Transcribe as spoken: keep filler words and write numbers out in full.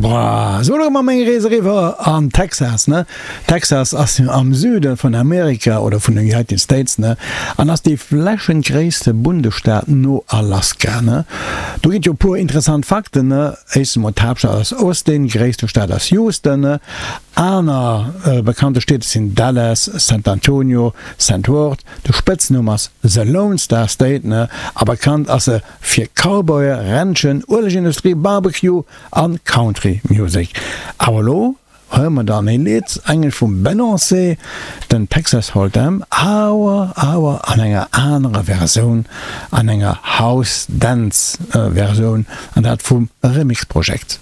Boah, sou elo mar meng Rees eriwwer an Texas, ne? Texas ass jo am Süde vun Amerika oder vun den United States, ne? An ass dee flächengréisste Bundesstaat no Alaska, ne? Do ginn et jo e puer interessant Fakten, ne? Éischtens emol, d'Haaptstad ass Austin, gréisste Stad ass Houston, ne? Aner bekannte Stied sinn Dallas, San Antonio, Saint Worth. De Spëtznumm ass The Lone Star State, ne? A bekannt ass se fir Cowboye, Ranchen, Uelegindustrie, Barbecue an Country Music. Awer elo huele mer dann ee Lidd, englesch vum Beyoncé, den Texas Hold'em, awer awer an enger anerer Versioun, an enger House Dance Versioun, an dat vum Remix Project.